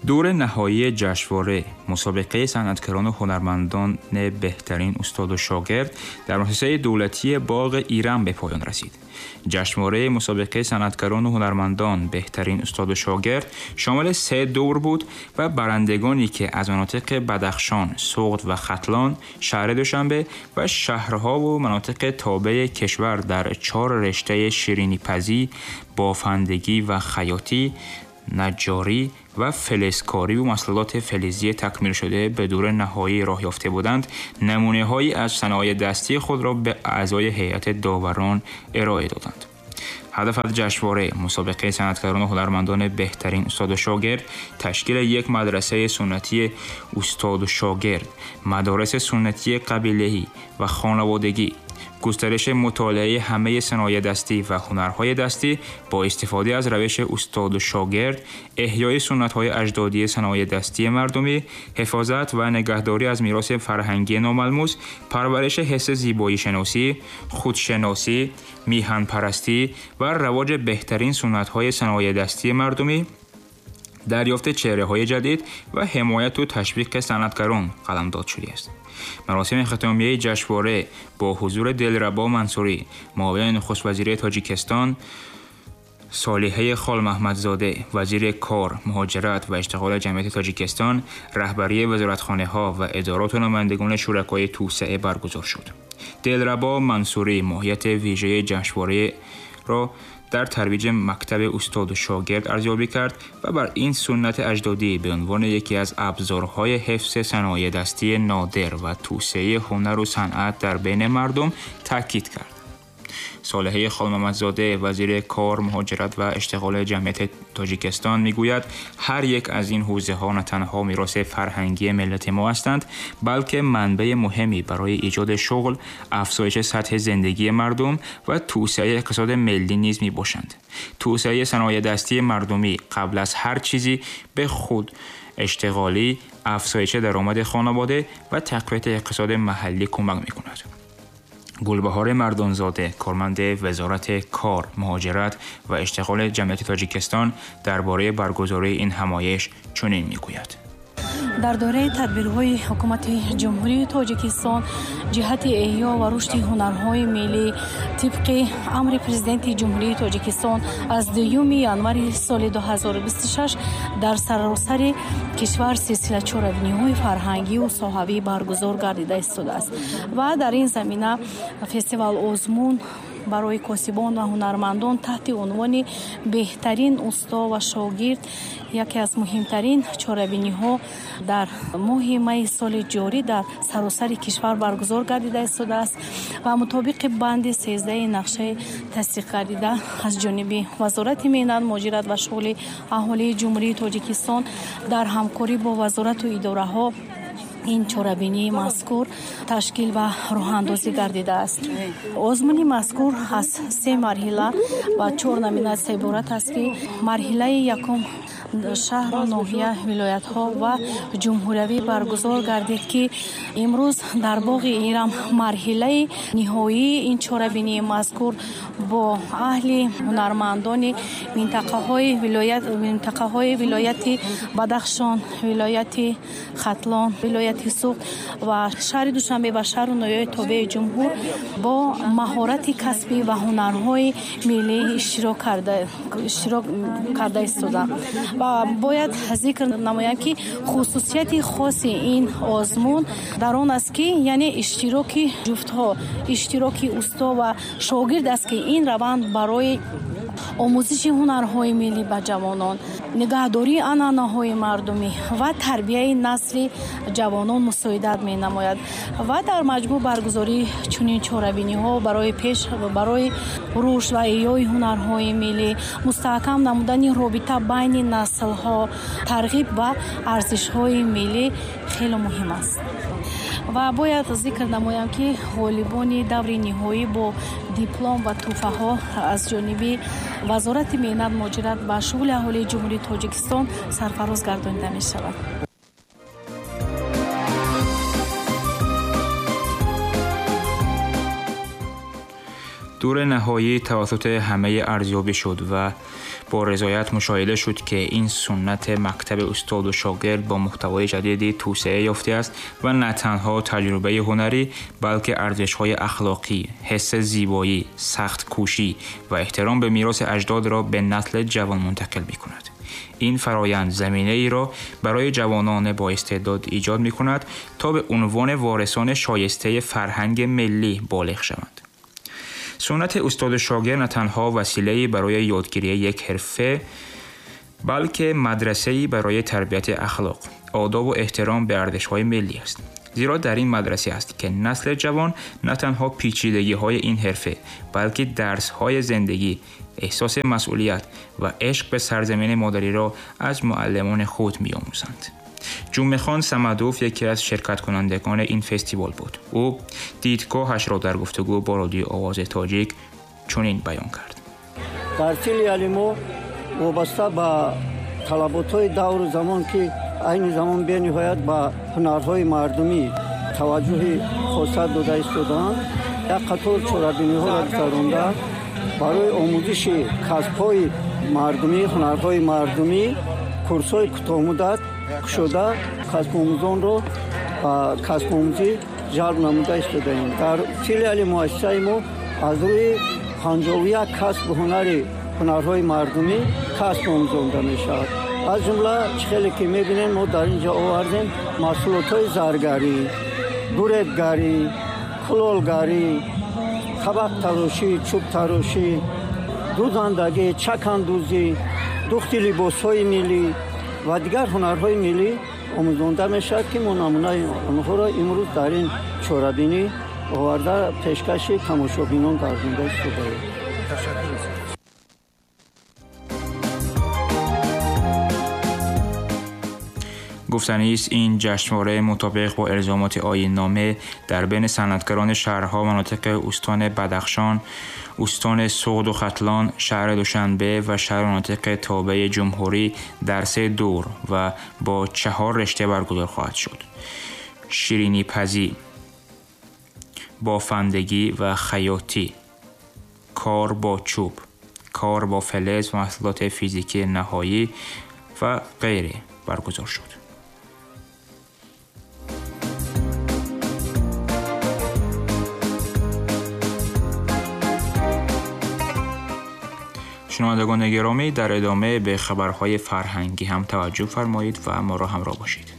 دور نهایی جشنواره مسابقه صنعتگران و هنرمندان بهترین استاد و شاگرد در مؤسسه دولتی باغ ایران به پایان رسید. جشنواره مسابقه صنعتگران و هنرمندان بهترین استاد و شاگرد شامل 3 دور بود و برندگانی که از مناطق بدخشان، سغد و ختلان، شهر دوشنبه و شهرها و مناطق تابع کشور در 4 رشته شیرینی پزی، بافندگی و خیاطی، نجاری و فلزکاری و محصولات فلزی تکمیل شده به دور نهایی راه یافته بودند، نمونه‌هایی از صنایع دستی خود را به اعضای هیئت داوران ارائه دادند. هدف از جشنواره مسابقه صنعتگران و هنرمندان بهترین استاد و شاگرد تشکیل یک مدرسه سنتی استاد و شاگرد، مدارس سنتی قبیله‌ای و خانوادگی، گسترش مطالعه همه صنایع دستی و هنرهای دستی با استفاده از روش استاد و شاگرد، احیای سنت‌های اجدادی صنایع دستی مردمی، حفاظت و نگهداری از میراث فرهنگی ناملموس، پرورش حس زیبایی شناسی، خودشناسی، میهن پرستی و رواج بهترین سنت‌های صنایع دستی مردمی، دریافت چهره‌های جدید و حمایت و تشویق صنعتگران قلمداد شده است. مراسم ختامیه جشنواره با حضور دلربا منصوری، معاون نخست وزیر تاجیکستان، صالحه خال محمدزاده، وزیر کار، مهاجرت و اشتغال جمعیت تاجیکستان، رهبری وزارتخانه‌ها و ادارات و نمایندگان شرکای توسعه برگزار شد. دلربا منصوری ماهیت ویژه جشنواره را در ترویج مکتب استاد و شاگرد ارزیابی کرد و بر این سنت اجدادی به عنوان یکی از ابزارهای حفظ صنایع دستی نادر و توسعه هنر و صنعت در بین مردم تاکید کرد. صالحه خال محمدزاده، وزیر کار، مهاجرت و اشتغال جمعیت تاجیکستان میگوید هر یک از این حوزه ها نه تنها میراث فرهنگی ملت ما هستند، بلکه منبع مهمی برای ایجاد شغل، افزایش سطح زندگی مردم و توسعه اقتصاد ملی نیز میباشند. توسعه صنایع دستی مردمی قبل از هر چیزی به خود اشتغالی، افزایش درآمد خانواده و تقویت اقتصاد محلی کمک میکند. گلبهار مردانزاده، کارمند وزارت کار، مهاجرت و اشتغال جمعیت تاجیکستان، درباره برگزاری این همایش چنین میگوید: дар доираи тадбирҳои ҳукумати Ҷумҳурии Тоҷикистон ҷиҳати эҳё ва рушди ҳунарҳои миллӣ тибқи амри Президенти Ҷумҳурии Тоҷикистон аз 2 январи соли 2026 дар саросари кишвар силсила чорабиниҳои фарҳангию соҳавӣ баргузор гардида истодааст ва дар ин замина фестивал озмун барои косибон ва ҳунармандон таҳти унвони беҳтарин усто ва шогирд яке аз муҳимтарин чорабиниҳо дар моҳи майи соли ҷорӣ дар саросари кишвар баргузор гардида истодааст ва мутобиқи банди 13 нақшаи тасдиқ гардида аз ҷониби Вазорати меҳнат, муҳоҷират ва шуғли аҳолии Ҷумҳурии Тоҷикистон дар ҳамкорӣ бо вазорату идораҳо ин чорабинии мазкур ташкил ва роҳандозӣ гардидааст. Озмуни мазкур аз 3 марҳила ва 4 номинатсия иборат аст, ки марҳилаи якум шаҳру ноҳия, вилоятҳо ва ҷумҳуриявӣ баргузор гардид, ки имрӯз дар боғи Ирам марҳилаи ниҳоии ин чорабинии мазкур бо аҳли ҳунармандони минтақаҳои вилояти Бадахшон, вилояти Хатлон, вилояти Суғд ва шаҳри Душанбе ва шаҳру ноҳияҳои тобеи ҷумҳур бо маҳорати касбӣ ва ҳунарҳои миллӣ иштирок карда истоданд. Ва бояд зикр намоям, ки хусусияти хоси ин озмун дар он аст, ки яъне иштироки ҷуфтҳо, иштироки усто ва шогирд аст, ки ин раванд барои омӯзиши ҳунарҳои миллӣ ба ҷавонон, нигаҳдории анъанаҳои мардумӣ ва тарбияи насли ҷавонон мусоидат менамояд. Ва дар маҷмӯъ баргузории чунин чорабиниҳо барои рушд ва эҳёи ҳунарҳои миллӣ, мустаҳкам намудани робита байни наслҳо, тарғиб ба арзишҳои миллӣ хеле муҳим аст. Ва бояд зикр намоям, ки ғолибони даври ниҳоӣ бо диплом ва тӯҳфаҳо аз ҷониби Вазорати меҳнат, муҳоҷират ва шуғли аҳолии Ҷумҳурии Тоҷикистон сарфароз гардонида мешавад. دور نهایی توسط همه ارزیابی شد و با رضایت مشاهده شد که این سنت مکتب استاد و شاگرد با محتوای جدیدی توسعه یافته است و نه تنها تجربه هنری بلکه ارزش‌های اخلاقی، حس زیبایی، سخت کوشی و احترام به میراث اجداد را به نسل جوان منتقل می‌کند. این فرایند زمینه‌ای را برای جوانان با استعداد ایجاد می‌کند تا به عنوان وارثان شایسته فرهنگ ملی بالغ شوند. سنت استاد شاگرد نه تنها وسیله‌ای برای یادگیری یک حرفه، بلکه مدرسه‌ای برای تربیت اخلاق، آداب و احترام به ارزش‌های ملی است. زیرا در این مدرسه است که نسل جوان نه تنها پیچیدگی‌های این حرفه، بلکه درس‌های زندگی، احساس مسئولیت و عشق به سرزمین مادری را از معلمان خود می‌آموزند. جمعه‌خان صمدوف یکی از شرکت کنندگان این فستیوال بود. او دیدگاهش را در گفتگو با رادیو آواز تاجیک چنین بیان کرد: در فیلیالی ما وابسته به талаботҳои давру замон, ки айни замон бениҳоят ба ҳунарҳои мардумӣ таваҷҷӯҳи хоса дода истодаанд, як қатор чорабиниҳоро гузаронда барои омӯзиши касбҳои мардумӣ, ҳунарҳои мардумӣ курсҳои кӯтоҳмуддат кушода касбомӯзонро ба касбомӯзӣ ҷалб намуда истодаем. Дар филиали муассисаи мо аз рӯи 51 касбу ҳунари ҳунарҳои мардумӣ касб омӯзонда мешавад. Аз ҷумла чӣ хеле ки мебинем, мо дар ин ҷо овардем маҳсулотҳои заргарӣ, дуребгарӣ, кулолгарӣ, табақтарошӣ, чӯбтарошӣ, дӯзандагӣ, чакандӯзӣ, духти либосҳои миллӣ ва дигар ҳунарҳои миллӣ омӯзонда мешавад, ки мо намунаи онҳоро имрӯз дар ин чорабинӣ оварда пешкаши тамошобинон гардонда истодаем. گفتنی است این جشنواره مطابق با الزامات آیین‌نامه در بین صنعتگران شهرها و مناطق استان بدخشان، استان سغد و ختلان، شهر دوشنبه و شهر مناطق تابع جمهوری در 3 دور و با 4 رشته برگزار خواهد شد: شیرینی پزی، بافندگی و خیاطی، کار با چوب، کار با فلز و محصولات فیزیکی نهایی و غیره برگزار شد. شنوندگان گرامی، در ادامه به خبرهای فرهنگی هم توجه فرمایید و ما را همراه باشید.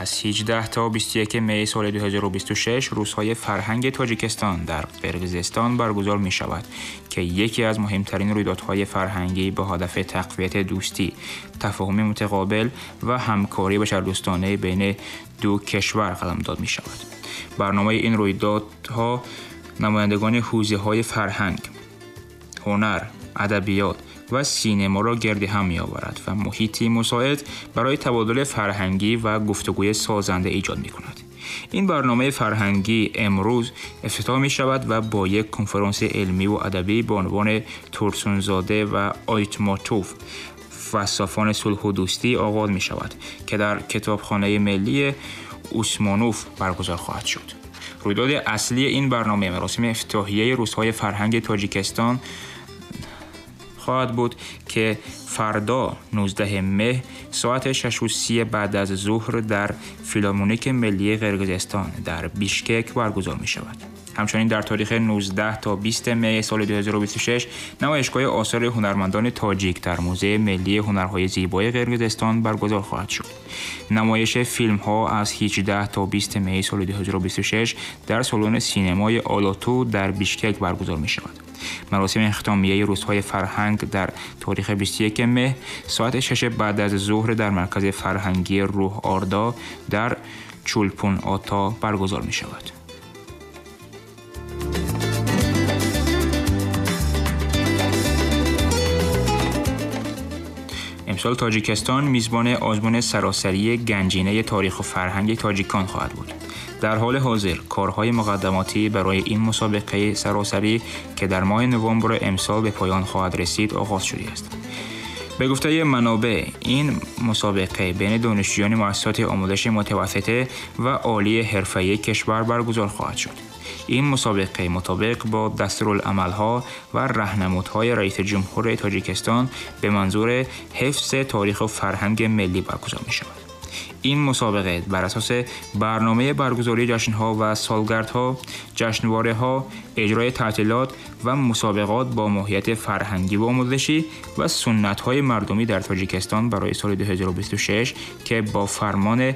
از 18 تا 21 می سال 2026 روزهای فرهنگ تاجیکستان در قرقیزستان برگزار می شود که یکی از مهمترین رویدادهای فرهنگی به هدف تقویت دوستی، تفاهم متقابل و همکاری بشردوستانه بین دو کشور قلمداد می شود. برنامه این رویدادها نمایندگان حوزه‌های فرهنگ، هنر، ادبیات و سینما را گرد هم می‌آورد و محیطی مساعد برای تبادل فرهنگی و گفتگوی سازنده ایجاد می‌کند. این برنامه فرهنگی امروز افتتاح می‌شود و با یک کنفرانس علمی و ادبی به عنوان تورسونزاده و آیتماتوف فلسفان صلح و دوستی آغاز می‌شود که در کتابخانه ملی عثمانوف برگزار خواهد شد. رویداد اصلی این برنامه مراسم افتتاحیه روزهای فرهنگ تاجیکستان خواهد بود که فردا 19 مه ساعت 6:30 بعد از ظهر در فیلارمونیک ملی قرقیزستان در بیشکک برگزار می شود. همچنین در تاریخ 19 تا 20 می سال 2026 نمایشگاه آثار هنرمندان تاجیک در موزه ملی هنرهای زیبای قرقیزستان برگزار خواهد شد. نمایش فیلم‌ها از 18 تا 20 می سال 2026 در سالن سینمای آلاتو در بیشکک برگزار می شود. مراسم اختتامیه روزهای فرهنگ در تاریخ 21 مه ساعت 6 بعد از ظهر در مرکز فرهنگی روح آردا در چولپون آتا برگزار می شود. امسال تاجیکستان میزبان آزمون سراسری گنجینه تاریخ و فرهنگ تاجیکان خواهد بود. در حال حاضر کارهای مقدماتی برای این مسابقه سراسری که در ماه نوامبر امسال به پایان خواهد رسید آغاز شده است. به گفته منابع، این مسابقه بین دانشجویان مؤسسات آموزش متوسطه و عالی حرفه‌ای کشور برگزار خواهد شد. این مسابقه مطابق با دستورالعمل‌ها و راهنمودهای رئیس جمهور تاجیکستان به منظور حفظ تاریخ و فرهنگ ملی برگزار می‌شود. این مسابقه بر اساس برنامه برگزاری جشن‌ها و سالگردها، جشنواره‌ها، اجرای تعطیلات و مسابقات با ماهیت فرهنگی و آموزشی و سنت‌های مردمی در تاجیکستان برای سال 2026 که با فرمان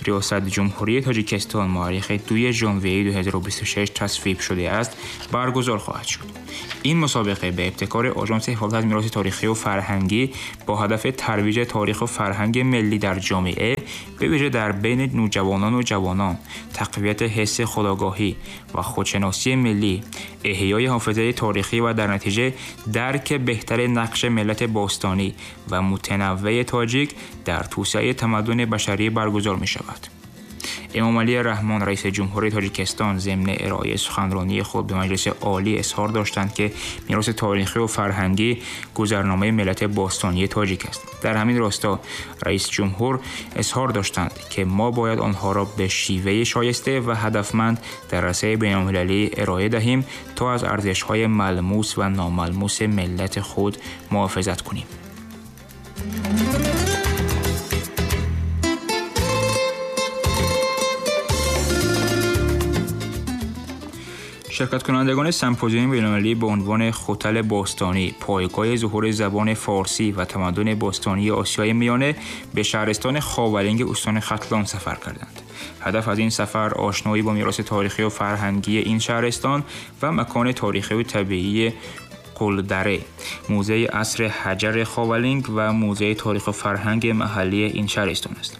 ریاست جمهوری تاجیکستان مورخ 2 ژانویه 2026 تصویب شده است، برگزار خواهد شد. این مسابقه به ابتکار آژانس حفاظت از میراث تاریخی و فرهنگی با هدف ترویج تاریخ و فرهنگ ملی در جامعه، به ویژه در بین نوجوانان و جوانان، تقویت حس خودآگاهی و خودشناسی ملی، احیای حافظه تاریخی و در نتیجه درک بهتر نقش ملت باستانی و متنوع تاجیک در توسعه تمدن بشری برگزار می شود. امامعلی رحمان رئیس جمهوری تاجیکستان ضمن ارائه سخنرانی خود به مجلس عالی اظهار داشتند که میراث تاریخی و فرهنگی گذرنامه ملت باستانی تاجیک است. در همین راستا رئیس جمهور اظهار داشتند که ما باید آنها را به شیوه شایسته و هدفمند در عرصه بین‌المللی ارائه دهیم تا از ارزش‌های ملموس و ناملموس ملت خود محافظت کنیم. شرکت کنندگان سمپوزیوم بین‌المللی به عنوان خوتل باستانی، پایگاه ظهور زبان فارسی و تمدن باستانی آسیای میانه به شهرستان خاولنگ استان ختلان سفر کردند. هدف از این سفر آشنایی با میراث تاریخی و فرهنگی این شهرستان و مکان تاریخی و طبیعی قلدره، موزه عصر حجر خاولنگ و موزه تاریخ و فرهنگ محلی این شهرستان است.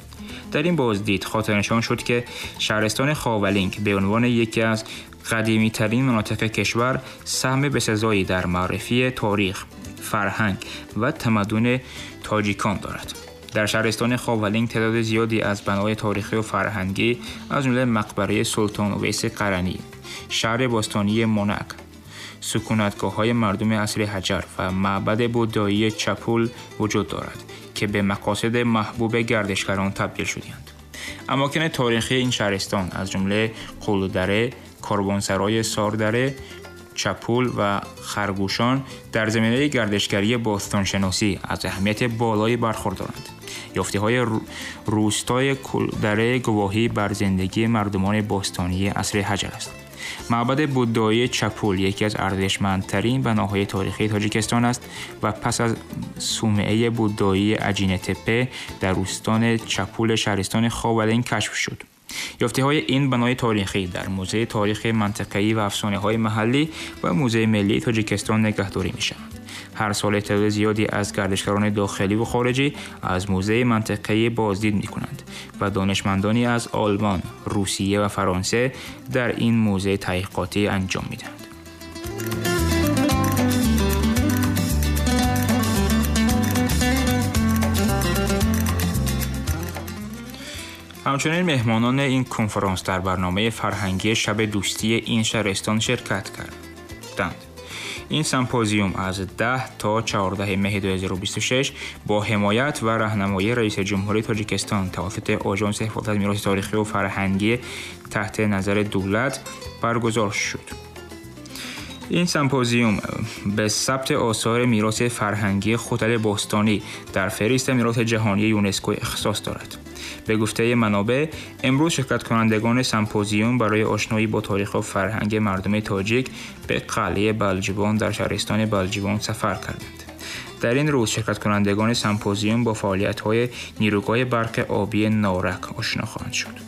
در این بازدید خاطرنشان شد که شهرستان خاولنگ به عنوان یکی از قدیمی ترین مناطق کشور سهم بسزایی در معرفی تاریخ، فرهنگ و تمدن تاجیکان دارد. در شهرستان خاولنگ تعداد زیادی از بناهای تاریخی و فرهنگی از جمله مقبره سلطان اویس قرنی، شهر باستانی مونک، سکونتگاه‌های مردم عصر حجر و معبد بودایی چپول وجود دارد که به مقاصد محبوب گردشگران تبدیل شده‌اند. اماکن تاریخی این شهرستان از جمله قلدره، کاروانسرای ساردره، چپول و خرگوشان در زمینه گردشگری باستانشناسی از اهمیت بالایی برخوردارند. یافته‌های روستای قلدره گواهی بر زندگی مردمان باستانی عصر حجر است. معبد بودایی چپول یکی از ارزشمندترین بناهای تاریخی تاجیکستان است و پس از صومعه بودایی اجینه تپه در روستان چپول شهرستان خاولنگ کشف شد. یافته‌های این بنای تاریخی در موزه تاریخ منطقه‌ای و افسانه‌های محلی و موزه ملی تاجیکستان نگهداری می‌شوند. هر سال تعداد زیادی از گردشگران داخلی و خارجی از موزه منطقه‌ای بازدید می‌کنند و دانشمندانی از آلمان، روسیه و فرانسه در این موزه تحقیقاتی انجام می‌دهند. همچنین مهمانان این کنفرانس در برنامه فرهنگی شب دوستی این شهرستان شرکت کردند. این سمپوزیوم از 10 تا 14 مه 2026 با حمایت و راهنمایی رئیس جمهوری تاجیکستان توسط آژانس حفاظت از میراث تاریخی و فرهنگی تحت نظر دولت برگزار شد. این سمپوزیوم به ثبت آثار میراث فرهنگی خوتل باستانی در فهرست میراث جهانی یونسکو اختصاص دارد. به گفته منابع، امروز شرکت کنندگان سمپوزیوم برای آشنایی با تاریخ و فرهنگ مردم تاجیک به قلعه بلجیوان در شهرستان بلجیوان سفر کردند. در این روز شرکت کنندگان سمپوزیوم با فعالیت‌های نیروگاه برق آبی نارک آشنا خواهند شد.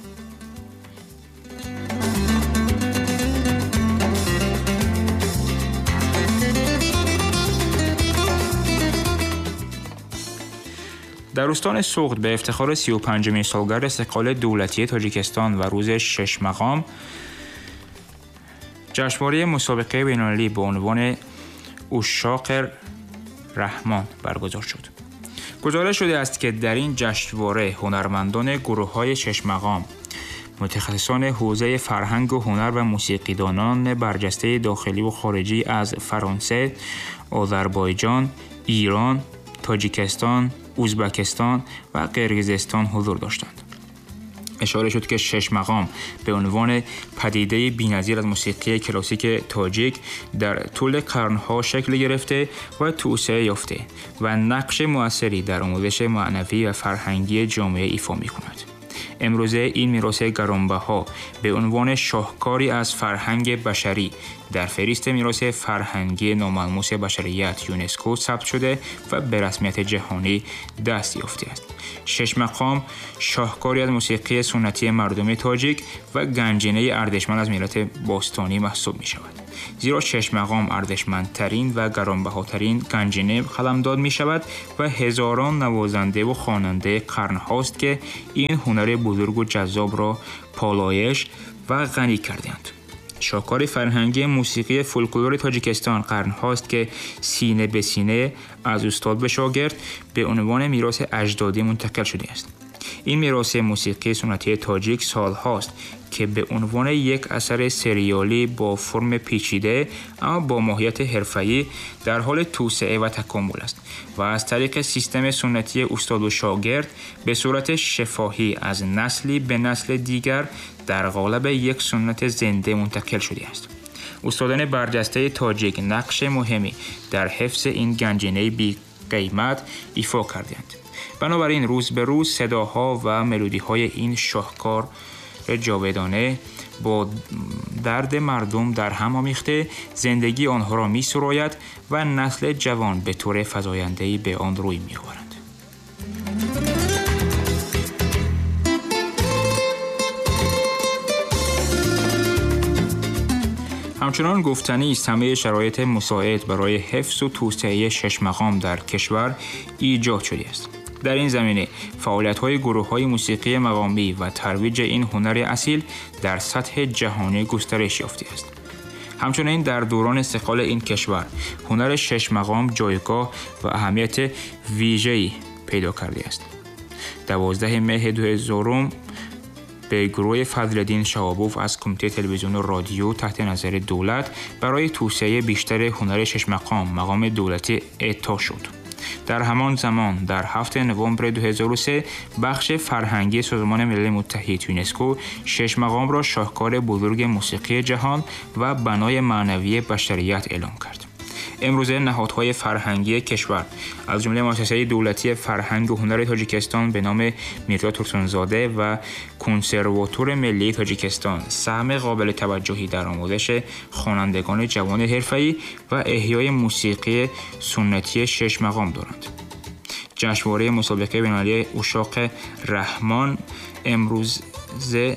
در استان سغد به افتخار 35مین سالگرد استقلال دولتی تاجیکستان و روز شش مقام جشنواره مسابقه بین‌المللی به عنوان عشاق رحمان برگزار شد. گزارش شده است که در این جشنواره هنرمندان گروه‌های شش مقام، متخصصان حوزه فرهنگ و هنر و موسیقیدانان برجسته داخلی و خارجی از فرانسه، آذربایجان، ایران، Тоҷикистон, Узбекистон و قرقیزستان حضور داشتند. اشاره شد که شش مقام به عنوان پدیده بی‌نظیر از موسیقی کلاسیک تاجیک در طول قرنها شکل گرفته و توسعه یافته و نقش مؤثری در آموزش معنوی و فرهنگی جامعه ایفا می‌کند. امروزه این میراث گرانبها به عنوان شاهکاری از فرهنگ بشری در فهرست میراث فرهنگی ناملموس بشریت یونسکو ثبت شده و به رسمیت جهانی دست یافته است. شش مقام شاهکاری از موسیقی سنتی مردم تاجیک و گنجینه ارزشمند از میراث باستانی محسوب می شود. زیرا شش مقام ارزشمندترین و گرانبهاترین گنجینه قلمداد می شود و هزاران نوازنده و خواننده قرن هاست که این هنر بزرگ و جذاب را پالایش و غنی کردند. شاهکار فرهنگی موسیقی فولکلور تاجیکستان قرن هاست که سینه به سینه از استاد به شاگرد به عنوان میراث اجدادی منتقل شده است. این میراث موسیقی سنتی تاجیک سال هاست که به عنوان یک اثر سریالی با فرم پیچیده اما با ماهیت حرفه‌ای در حال توسعه و تکامل است و از طریق سیستم سنتی استاد و شاگرد به صورت شفاهی از نسلی به نسل دیگر در قالب یک سنت زنده منتقل شده است. استادان برجسته تاجیک نقش مهمی در حفظ این گنجینه بی قیمت ایفا کردند. بنابراین روز به روز صداها و ملودی‌های این شاهکار جاودانه با درد مردم در هم آمیخته زندگی آنها را می سراید و نسل جوان به طور فزاینده‌ای به آن روی می آورند. همچنان گفتنی است همه شرایط مساعد برای حفظ و توسعه شش مقام در کشور ایجاد شده است. در این زمینه فعالیت‌های گروه‌های موسیقی مقامی و ترویج این هنر اصیل در سطح جهانی گسترش یافته است. همچنین در دوران استقلال این کشور هنر شش مقام جایگاه و اهمیت ویژه‌ای پیدا کرده است. 12 مه 2000 به گروه فضلالدین شهابوف از کمیته تلویزیون و رادیو تحت نظر دولت برای توسعه بیشتر هنر شش مقام مقام دولتی اعطا شد. در همان زمان در 7 نوامبر 2003 بخش فرهنگی سازمان ملل متحد یونسکو شش مقام را شاهکار بزرگ موسیقی جهان و بنای معنوی بشریت اعلام کرد. امروزه نهادهای فرهنگی کشور از جمله مؤسسه دولتی فرهنگ و هنر تاجیکستان به نام میرزا تورسونزاده و کنسرواتور ملی تاجیکستان سهم قابل توجهی در آموزش خوانندگان جوان حرفه‌ای و احیای موسیقی سنتی شش مقام دارند. جشنواره مسابقه بین‌المللی عشاق رحمان امروز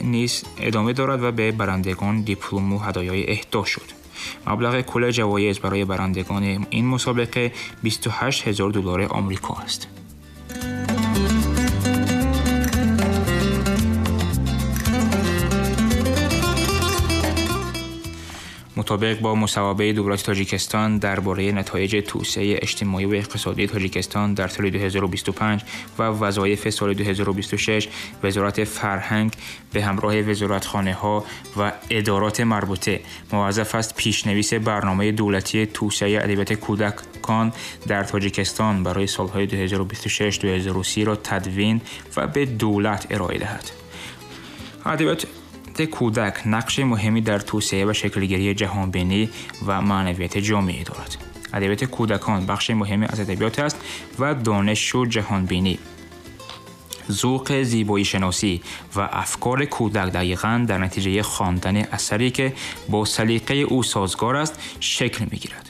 نیز ادامه دارد و به برندگان دیپلم و هدایای اهدا شد. مبلغ کل جوایز برای برندگان این مسابقه 28,000 دلار آمریکا است. مطابق با مصوبه دولت تاجیکستان درباره نتایج توسعه اجتماعی و اقتصادی تاجیکستان در سال 2025 و وظایف سال 2026، وزارت فرهنگ به همراه وزارتخانه‌ها و ادارات مربوطه موظف است پیشنویس برنامه دولتی توسعه ادبیات کودکان در تاجیکستان برای سالهای 2026-2030 را تدوین و به دولت ارائه دهد. ادبیات کودک نقش مهمی در توسعه و شکلگیری جهانبینی و معنویت جامعه دارد. ادبیات کودکان بخش مهمی از ادبیات است و دانش و جهانبینی، ذوق زیبایی شناسی و افکار کودک دقیقاً در نتیجه خواندن اثری که با سلیقه او سازگار است شکل می‌گیرد.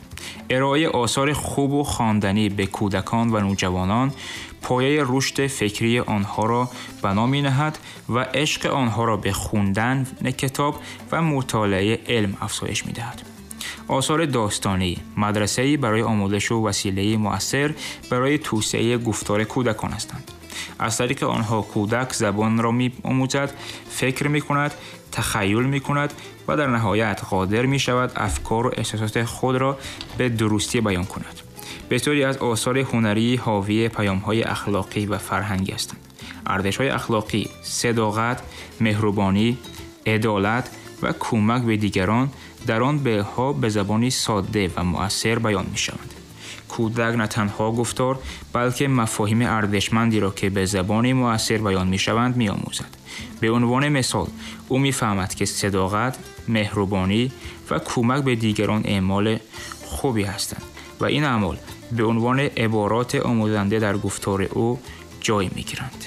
ارائه آثار خوب و خواندنی به کودکان و نوجوانان پایه رشد فکری آنها را بنا می‌نهد و عشق آنها را به خواندن کتاب و مطالعه علم افزایش می‌دهد. آثار داستانی مدرسه‌ای برای آموزش و وسیله مؤثر برای توسعه گفتار کودکان هستند. از طریق آنها کودک زبان را می‌آموزد، فکر می‌کند، تخیل می‌کند و در نهایت قادر می‌شود افکار و احساسات خود را به درستی بیان کند. بسیاری از آثار هنری حاوی پیام‌های اخلاقی و فرهنگی هستند. ارزش‌های اخلاقی، صداقت، مهربانی، عدالت و کمک به دیگران در آن به‌ها به زبانی ساده و مؤثر بیان می‌شوند. Кӯдак на танҳо гуфтор, балки мафоҳими арзишмандеро, ки ба забони муассир баён мешаванд, меомӯзад. Ба унвони мисол, ӯ мефаҳмад, ки садоқат, меҳрубонӣ ва кӯмак ба дигарон аъмоли хубе ҳастанд ва ин аъмол ба унвони ибороти омӯзанда дар гуфтори ӯ ҷой мегиранд.